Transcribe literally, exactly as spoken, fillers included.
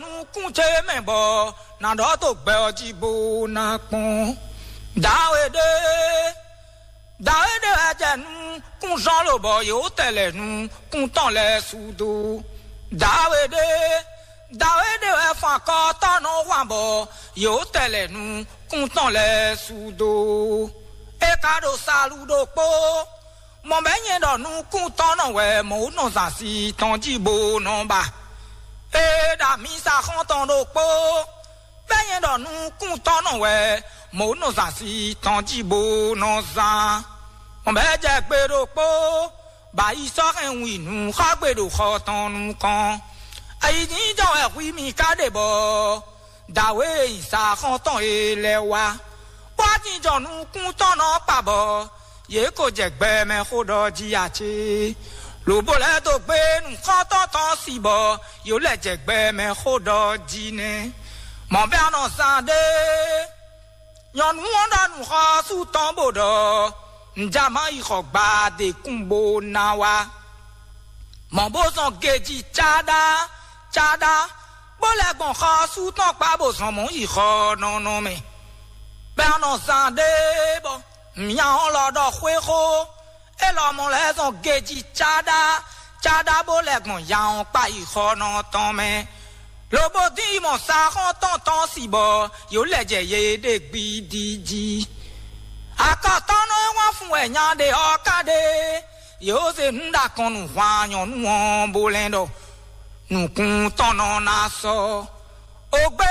nukún ce mɛ bɔ nǎ ɖɔ dó gbɛ ɔ́ jí bó ná kpɔ́n. Dǎwe ɖé, dǎwe ɖé wɛ jɛ nukún zɔ́n lobɔ yě wó tɛ lɛ nukún tɔn lɛ́ɛ su dó. Dǎwe ɖé, dǎwe ɖé wɛ fun akɔtɔ́ nɔ hwan bɔ yě wó tɛ lɛ nukún tɔn lɛ́ɛ su dó. É ka ɖo salu ɖokpó, mɔ bɛ́ nyɛ ɖɔ nukún tɔn nɔ wɛ mɔ̌ nɔ zǎn sí tɔn jí bó nɔ ba. É ɖo amǐsa xɔ́ntɔn ɖokpó, bɛ́ nyɛ ɖɔ nukún tɔn nɔ wɛ mɔ̌ nɔ zǎn sí tɔn jí bó nɔ zán. Mɔ bɛ́ jɛ gbe ɖokpó, bɔ ayi sɔ́ hɛn wǐ nú xɔ́gbe ɖo xɔ tɔn nukɔn. Ayǐjínjɔ́n wɛ hwi mì ka ɖe bɔ dǎwe e nyi sa xɔ́ntɔn e lɛ́ɛ wá, bó wá jínjɔ́n nukún tɔn nɔ kpa bɔ yě ko jɛ gbɛ mɛ xó ɖɔ jí ǎ cé? Lǒ bó lɛ́ dó gbé nǔxɔ́ntɔn tɔn sí bɔ yǒ lɛ́ jɛ gbɛ mɛ xó ɖɔ jí nɛ́. Mɔ̌ bɛ́ a nɔ zán ɖé, nyɔ̌nu ɔ́ ɖɔ nǔxɔ́sú tɔn bó ɖɔ: "Nja má yi xɔ gbadekún bó ná wá." Mɔ̌ bó zɔn geji cáɖá cáɖá, bó lɛ́ gbɔn xɔ́sú tɔn kpá bó zɔn mɔ̌ yi xɔ nɔnɔ mɛ. Bɛ́ a nɔ zán ɖé bɔ mǐa ɔ́ lɔ ɖɔ xwé xó, é lɔmɔ̌ lɛ́ zɔn geji cáɖá cáɖá bó lɛ́ gbɔn ya ɔ́ kpá yi xɔ nɔ tɔn mɛ. Lobo dín yi mɔ saxɔ́ntɔn tɔn si bɔ yǒ lɛ jɛ yě ɖe gbidi jí. Akɔtɔ́nɔ e wán fun wɛ nya ɖe ɔ́ ka ɖe, yǒ zé nǔ ɖo akɔn nú hwan nyɔ̌nu ɔ́ bó lɛ́n ɖɔ nǔkún tɔn nɔ ná sɔ́. Ogbɛ́